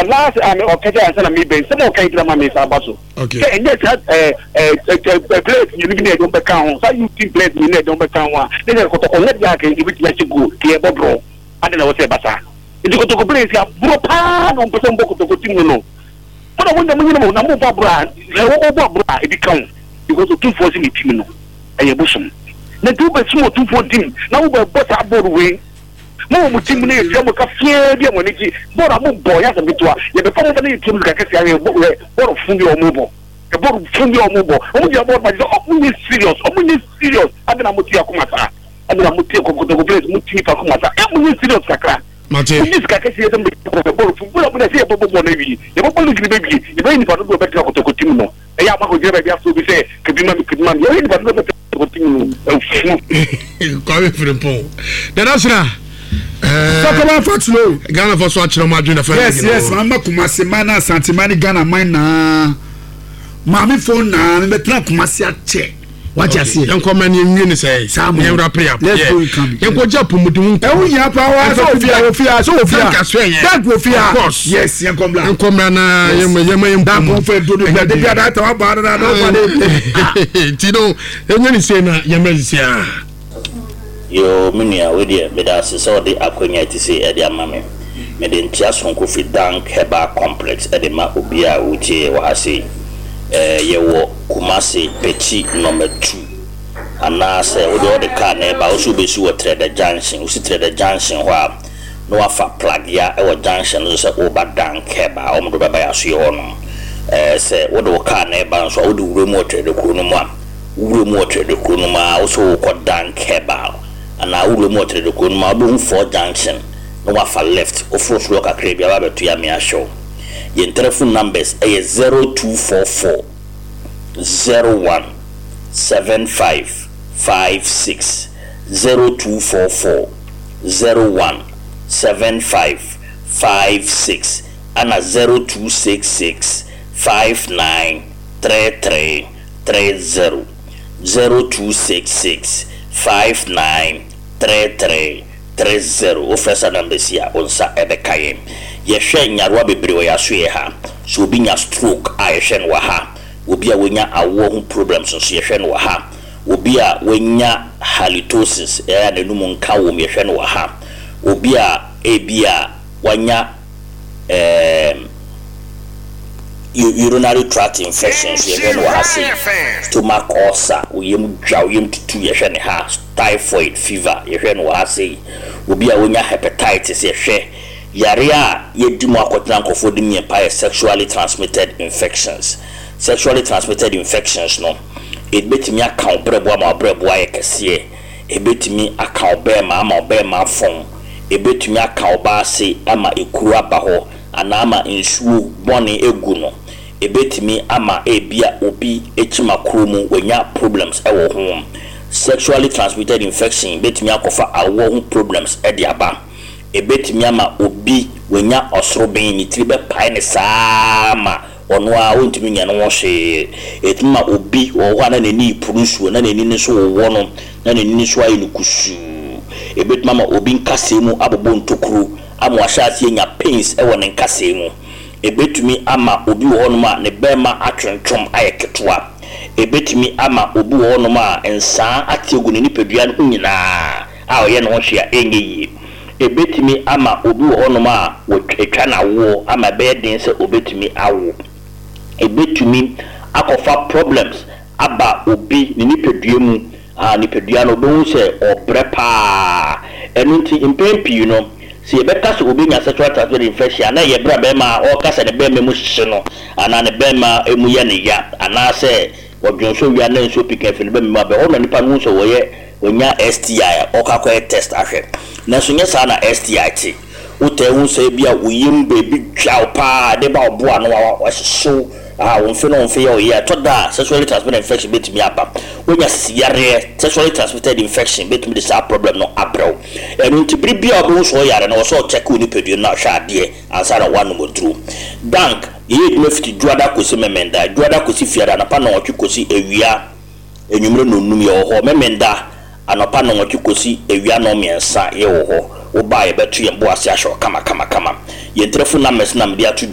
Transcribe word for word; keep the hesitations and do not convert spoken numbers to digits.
Ɔlast a ɔkɛkyɛ ansa na mi bɛn sɛm a ɔka yi gyina ma mi nsa aba so. Okay. Sɛ ɛnyɛ saa ɛɛ ɛɛ players mmienu bi na ɛde wɔn bɛka ho, saa youth team players mmienu na ɛde wɔn bɛka ho a, ne sɛ Kɔtɔkɔ nyɛ deɛ aka ebi tumi ahyɛ goal kì í ɛbɔ draw adi na wɔsɛ ɛba saa. Nti Kɔtɔkɔ players aburo paa na wɔn pɛ sɛ wɔn bɔ Kɔtɔkɔ team no no mo na mo nya mo nyina mo na mo bɔ aburo a ɛwɔ ɔbɔ aburo a ebi ka ho, because Otumfoɔ si ne team no ɛyɛ bosom na nti wobɛ sum Otumfoɔ team na wobɛ bɔ saa bɔɔl wei mo wɔ mo team no, yɛ tua mo ka fiɛ bi a mo ani gye bɔɔl a mo bɔ yɛ asɛm ketewa, yɛbɛfa mo ba ne yɛ tua mo sika kɛseɛ ayɛ bɔ ɛ bɔɔl fun bi a ɔmo bɔ ɛ bɔɔl fun bi a ɔmo bɔ. Ɔmo gyina bɔɔl ma gye sɛ ɔmo nye serious, ɔmo nye serious. Adi na mo ti akoma saa, adi na mo ti Kɔtɔkɔ players, mo ti nipa akoma saa ɛ, mo nye serious kakra. Mate. Mo nye sika kɛseɛ sɛ mo bɛ bɔɔl fun bɔɔl a mo na sɛ yɛ bɔ bɔɔl na wie, yɛ bɔ bɔɔl league ni bɛ wie, yɛ bɛ yɛ nipa dodoɔ bɛ tena Kɔtɔkɔ team no, ɛyɛ ama kò gyina baabi afɔ obi sɛ kebi ma mi, kebi ma mi, yɛ yɛ nipa dodoɔ bɛ tena Kɔtɔkɔ team no ɛfu. Kwame Frimpong dada sena. Sɔkɔba Fatilo. Ghana fɔ so akyerɛ mo adwene fɛ. yes yes maa ma Kumasi man na Asante man ne Ghana man naa maame fo naa mi bɛ tena Kumasi akyɛ wagye aseɛ. Yɛnkɔ ma ne yɛnwie ne sɛ Saa mo. yɛn wrap up. Let's go, Nkambi. Yɛnkɔ gye apɔmuden ho nkɔmmɔ. Ɛwò yia pa wa sɛ ofia ofia sɛ ofia. Dank aso ɛyɛ. Dank ofia. Of course. Yes, yɛn kɔ mbla. Yɛnkɔ mmra na yɛma yɛma yɛn Dank mpɔmu. nfɛ dodo bi ade bi ada ata wa ba ada ada ɔba de. Nti no ɛnyɛ ne sei na yɛmmra sisi a. Yoo, me nua, wei deɛ meda ase sɛ ɔde akonnwa ti sei ɛde ama me. Mede nkyea sononko firi Dank Herbal Complex ɛde ma obi a wotie wɔ ha sei. ɛɛ yɛwɔ Kumase, Pɛkyi number two, anaasɛ wode ɔde car na ɛba, wo so wobɛsi wɔ Trɛdɛ Junction. Wosi Trɛdɛ Junction hɔ a, na wafa Plagea ɛwɔ junction no so sɛ woba Dank Herbal, wɔn de bɛba yɛ asoɛ hɔ nom. ɛɛ sɛ wode wo car na ɛba nso a, wode wura mu wɔ Trɛdɛ kuro no mu a, wura mu wɔ Trɛdɛ kuro no mu a, wo so wokɔ Dank Herbal anaa wura mu wɔ Trɛdɛ kuro no mu a, wobɛhu four junction na wafa left, woforo soro kakra bi aba abɛto yɛ ame ahyɛw. Yɛn telephone numbers ɛyɛ zero two four four zero one seven five five six, zero two four four zero one seven five five six, ana zero two six six five nine three three three zero, zero two six six five nine three three three zero. Wofrɛ sa number si a, wo nsa ɛbɛka yɛn. Yɛhwɛ nyarewa bebree wɔ yɛaso yɛ ha. So obi nya stroke a, yɛhwɛ no wɔ ha. Obi a wonya awoɔ ho problems nso, yɛhwɛ no wɔ ha. Obi a wanya halitosis, ɛyɛ a n'anum nka wɔ mu, yɛhwɛ no wɔ ha. Obi a ebi a wanya ɛɛm urinary tract infection nso, yɛhwɛ no wɔ ha sei. Stomach ulcer, oyam dwa, oyam tutu, yɛhwɛ ne ha. Typhoid fever, yɛhwɛ no wɔ ha sei. Obi a wonya hepatitis, yɛhwɛ. Yare a yɛdi mu akɔtena nkɔfoɔ di mu yɛn pa yɛ sexually transmitted infections. Sexually transmitted infections no, ebetumi aka wo brɛbo ama wo brɛbo ayɛ kɛseɛ, ebetumi aka wo bɛɛma ama wo bɛɛma afɔn, ebetumi aka wo baase ama ekuro aba hɔ anaa ama nsuo bɔne egu no, ebetumi ama ebia obi ekyima kuro mu wanya problems ɛwɔ ho. Sexually transmitted infection betumi akɔfa awoɔ ho problems ɛde aba. Ebetumi ama obi wanya ɔsoroben, ne tiri bɛpae ne saa ma ɔno a ɔntumi nya ne ho hwee. Etumi ma obi wɔ hɔ a na n'ani puru nsuo na n'ani no nso wowɔ no na n'ani no nso ayɛ no kusuu. Ebetumi ama obi nkasɛɛ mu abobɔ ntokuro ama wahyɛ aseɛ nya pains ɛwɔ ne nkasɛɛ mu. Ebetumi ama obi wɔ hɔnom a ne bɛrima atwentwom ayɛ ketewa. Ebetumi ama obi wɔ hɔnom a nsaa ate agu ne nipadua no ho nyinaa a ɔyɛ ne ho hwee a ɛnyɛ yie. Ebetumi ama obi wɔ hɔnom a wɔatwa n'awoɔ ama ɛbɛyɛ den sɛ obetumi awo. Ebetumi akɔfa problems aba obi ne nipadua mu a nipadua no obɛhu sɛ ɔbrɛ paa. Ɛno nti mpɛn pii no, sɛ yɛbɛka sɛ obi nya sexual transmitted infection a, na ɛyɛ berɛ a bɛrima a ɔreka sɛ ne bɛrima mu hyehye no anaa ne bɛrima mu yɛ ne ya anaasɛ ɔdwonso wia na nsuo pii kan firi ne bɛrima mu aba hɔ na nipa no hu sɛ wɔyɛ wɔnya S T I a, ɔkɔ akɔyɛ test ahwɛ. Nanso nyɛ saa na S T I te. Wotɛ hu sɛ bi a woyam baabi dwa wo paa de ba ɔbo ano a wahyehyew a wo mfe no wo mfe yɛ ɔyɛ. Ɛtɔ da a, sexually transmitted infection bɛtumi aba. Wonya sisiyareɛ, sexually transmitted infection bɛtumi de saa problem no abrɛ wo. Ɛno nti bere bia wobɛhu sɛ ɔyare no, wɔ sɛ ɔkyɛke wo nipadua no na ɔhwɛ adeɛ ansa na woanom aduro. Dank yɛyɛ adwuma fiti Dwoada kɔsi Memenda, Dwoada kɔsi Fiada anɔpa nɔwɔtwe kɔsi awia enwumere nonum yɛwɔ hɔ. Memenda anɔpa nɔwɔtwe kɔsi awia nɔmmiɛnsa yɛwɔ hɔ. Wobaa, yɛbɛto yɛn bo ase ahyɛ wo kama kama kama. Yɛn telephone numbers na mede ato.